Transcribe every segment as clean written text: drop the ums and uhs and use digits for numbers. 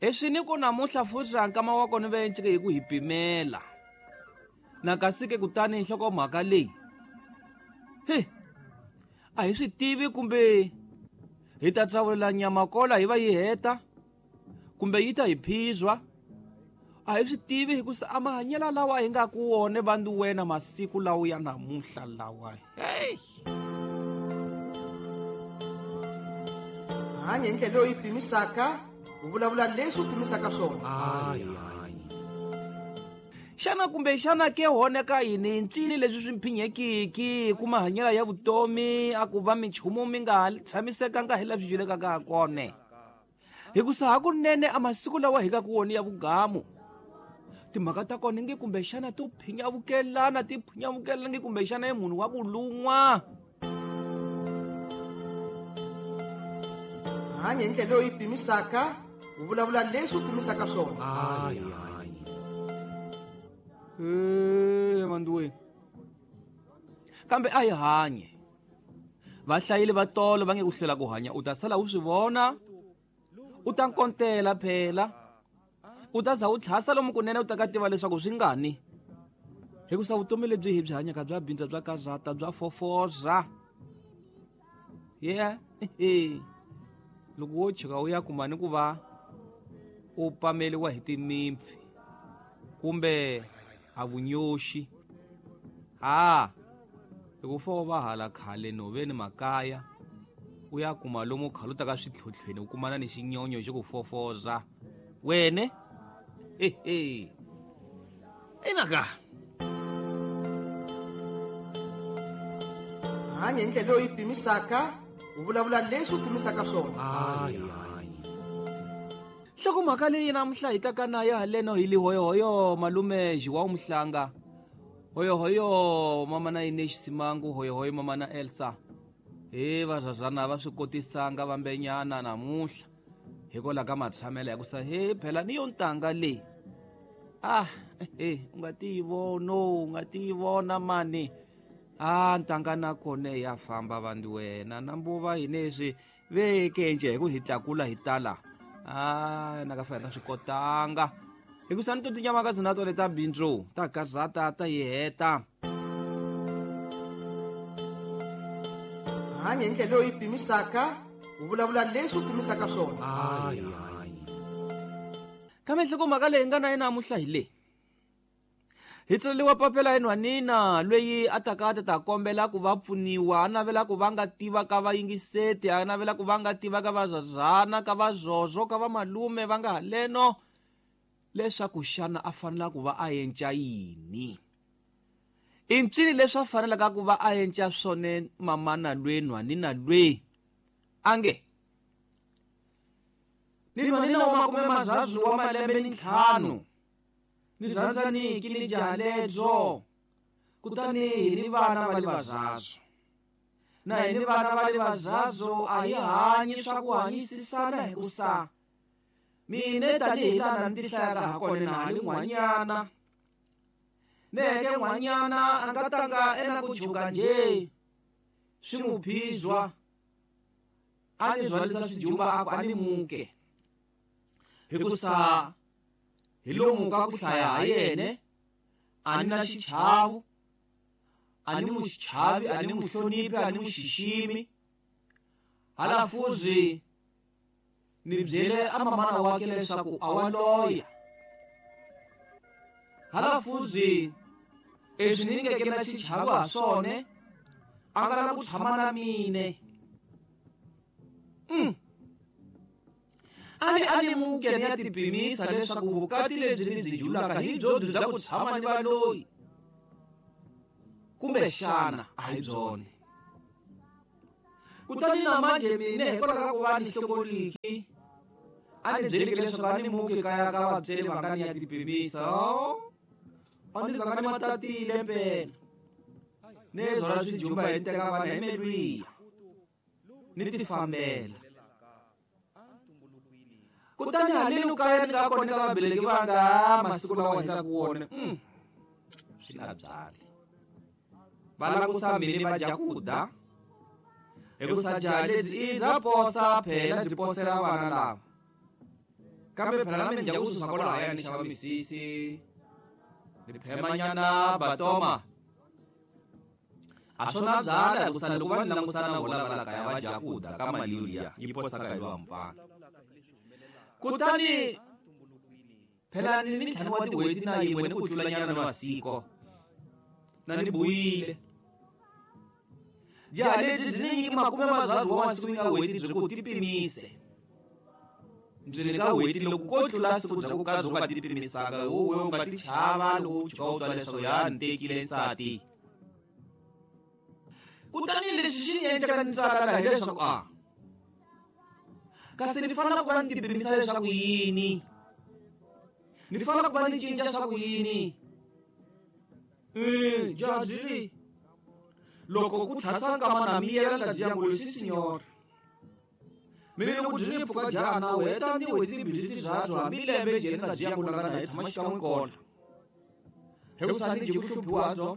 Leswi ni ku namuntlha futhi a nkama wa kona ve ncike hi ku hi pimela na kasi ke kutani nhlokomhaka leyi he a hi swi tivi kumbe hi ta tsavulela nyama kola hi va yi heta kumbe yi ta hi phizwa a hi swi tivi hikusa a mahanyelo lawa hi nga ku wona vandu wena masiku lawa ya namuntlha lawa hey Hanya hi ndlela leyi pimisaka, u vulavula leswi u pimisaka swona. Xana kumbe xana ke hone ka yini ntswini leswi swi mphinyekiki ku mahanyelo ya vutomi a ku va minchumu mi nga tshamisekanga hi laha swi julekaka ha kona hikusa hakunene a masiku lawa hi nga ku wona ya vugamu timhaka ta kona nge kumbexana to phinyavukelana ti phinyavukelana nge kumbexana i munhu wa ku lun'wa. Hanya hi ndlela leyi pimisaka, u vulavula leswi u pimisaka swona. Manduweni kambe a hi hanye va hlayile va tolo va nge ku hlwela ku hanya u ta sala u swi vona u ta nkontela phela u ta za u tlhasa lomu kunene u ta ka tiva leswaku swi ngani hikusa vutomi lebyi hi byi hanyaka bya bindza bya karhata bya fofoza yeah loko wo tshuka u ya kuma ni ku va u pameliwa hi timimpfi kumbe a vunyoxi ha hi ku fo va hala khale nhoveni makaya u ya kuma lomu khale u ta ka switlhotlhweni u kumana ni xinyonyo xi ku fofoza wene ehe inaka Hanya hi ndlela leyi pimisaka, u vulavula leswi u pimisaka swona. Nhlokomhaka leyi namuntlha hi taka na ya haleno hi lihoyohoyo malume João Mhlanga hoyohoyo mama na Ines Simangu hoyohoyo mama na Elsa he vazazana va swi kotisanga vambenyana namuntlha hikwalaho ka matshamelo ya ku sa he phela ni yo ntanga leyi ah he u nga ti vona u nga ti vona mani a ntanga na kona ya famba vandu wena na mbuva hi leswi veke nje hi ku hi tlakula hi tala a na ka fa hi nga swi kotanga hikusa ni to tinyamakazi na tona ta bindzu ta gazata ta yi heta. Hanya hi ndlela leyi pimisaka, u vulavula leswi u pimisaka swona. Kambe nhlokomhaka leyi nga na yena namuntlha hi leyi hi tsaleriwa papela hi nhwanina loyi a taka a ta ta kombela ku va pfuniwa a navela ku va nga tiva ka vayingiseti a navela ku va nga tiva ka vazazana ka vazozo ka vamalume va nga haleno leswaku xana a fanela ku va a enca yini i ncini leswi a fanelaka ku va a enca swona mamana lwe nhwanina lwe a nge ni nhwanina wa makume mazazu wa malembe ni 5 ni rhandzaniki ni jaha lebyo kutani hi ni vana va le vazazo na hi ni vana va le vazazo a hi hanyi swa ku hanyisisana hikusa mine tanihi laha ni tihlayaka ha kona na ha li n'wanyana neke n'wanyana a nga tanga ena ku chuka nje swi mu phizwa a ni zwalisa swijumba a ku a ni muke hikusa hi lomu ka ku hlaya ha yene a ni na xichavo a ni mu xichavi a ni mu hloniphi a ni mu xiximi hala fuzi ni byele a mamana wakhe leswaku a wa loya hala fuzi leswi ni ngeke na xichavo ha swona a nga la ku tshama na mine a ni muke ni ya tipimisa leswaku vukati lebyi ni byi julaka hi byo byi bya ku tshama ni valoyi kumbe xana a hi byona kutani na manje mine hikwalaho ka ku va ni hlongoliki a ni byeleke leswaku a ni muke kaya ka vabyeli va nga ni ya tipimisa a ni zanga ni matatile mpela ni zwala swijumba hi teka vana hi melwiya ni tifambela kutani haleni kaya ni nga kona ka vabeleki va nga masiku lawa hi nga ku wona swi nga byali va langusa mini va dya ku da hikusa jaha lebyi i bya posa phela byi posela vana lava. Kambe phela na mina dya ku susa kwalahaya ni xava misisi ni phemanyana batoma a swona byala hikusa loko va ni langusana na vona va la kaya va dya ku da ka mali yoliya yi posaka hi lowa mfana. Kutani phela ni ni ntlhanu wa tin'hweti na yin'we ni ku tlulanyana na masiko na ni buyile. Jaha lebyi byi ni nyiki makume mazabyu wa masiku yi nga n'hweti byi ku ti pimise. Byi ni ka n'hweti loko ko tlula siku bya ku ka byo nga ti pimisanga wowe u nga ti chava loko u tshuka u twa leswaku ya ni tekile nsati. Kutani lexi xi ni endlaka ni tsala laha hileswaku a kasi ni fanele ku va ni ti pimisa leswaku yini, ni fanele ku va ni cinca swa ku yini. Jaha byi ri loko ku tlhasa nkama na miyela ni ta dya ngulu si signor. Mina loko byi ni pfuka jaha na u heta ni n'hweti timbirhi tibyabyo hambi lembe njhe ni nga dyi yangulu nga na hi tshama xikan'we kona. Hikusa ni dyi ku hluphiwa byo.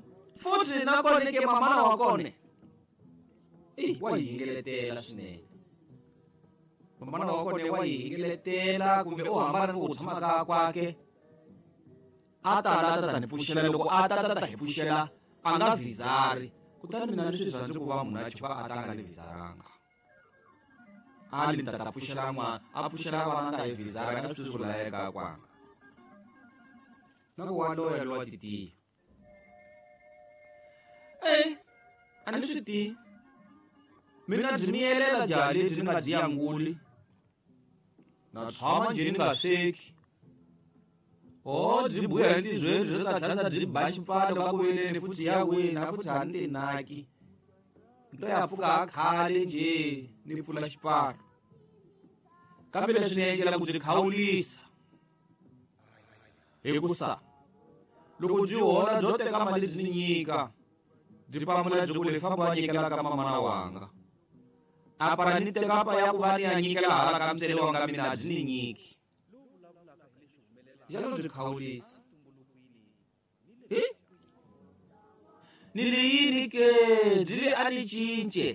Futhi na kona ke mamana wa kona. Wa yi hingeletela swinene. Mamana wa kona wa yi hingeletela kumbe u hambana ni ku tshama ka kwake. A ta la ta ta ni pfuxela loko a ta ta ta hi pfuxela a nga vhizari. Kutani mina ni swi rhandzi ku va munhu a chuka a ta nga ni vhizaranga. A ni ta ta pfuxela n'wana, a pfuxela vana nga hi vhizara nga swi swi layeka kwanga. Na ku wa loya lowa titiya. A ni swi tivi. Mina byi miyelela jaha lebyi ni nga dyi yanguli. Na tshama njhe ni nga sweki. O byi buya hi ntizweni byi ta tlhasa byi ba xipfalo ka ku veleni futhi ya wina futhi a ni tinaki. Ni to ya pfuka ha khale njhe ni pfula xipfalo. Kambe leswi ni endlela ku byi khawulisa. Hikusa loko byi hola byo teka mali byi ni nyika byi pamula byi ku le famba wa nyikela ka mamana wanga. A para ni teka pa ya ku va ni ya nyikela hala ka ntswele wanga mina byi ni nyiki. Njalo byi khawulisa. Ni li yini ke byi li a ni cince.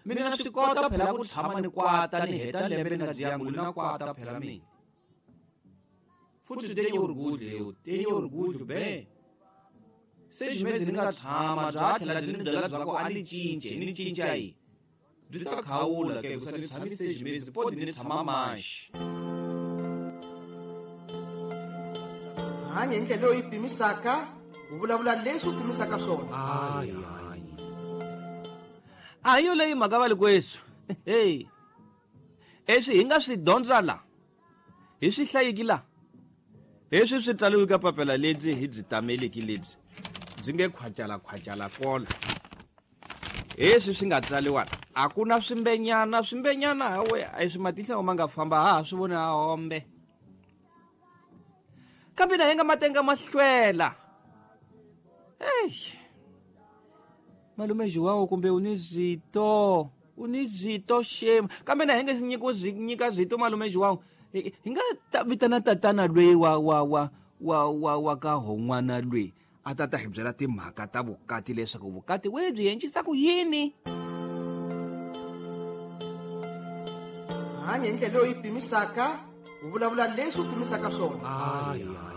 Mina na swi kota phela ku tshama ni kwata ni heta lembe ni nga dyi yangulu na kwata phela mina. Futhi tenye orgulho, tenye orgulho be. Se ximezi ni nga tshama bya tlhela byi ni byela bya ku a ni cince, ni cinca yi. Byi ta khawula ke ku ni tshamise ximezi podi ni tshama maxi. Hanya hi ndlela leyi pimisaka, u vulavula leswi u pimisaka swona. A hi yo leyi mhaka va likwesu. Hey. Leswi hi nga swi dyondza la, hi swi hlayiki la. Leswi swi tsariwe ka papila lebyi hi byi tameleki lebyi byi nge khwacala khwacala kola. Leswi swi nga tsariwa a ku na swimbenyana, swimbenyana hawe a swi matihlo ma nga famba ha swi vona a hombe. Kambe na hi nga matenga mahlwela. Eish. Malume João kumbe u ni zito, u ni zito shame. Kambe na hi nga si nyika zito malume João. Hi nga ta vitana tatana lweyi wa wa wa wa wa wa ka hon'wana lweyi a ta ta hi byela timhaka ta vukati leswaku vukati we byi endlisa ku yini. Hanya hi ndlela leyi pimisaka, u vulavula leswi u pimisaka swona.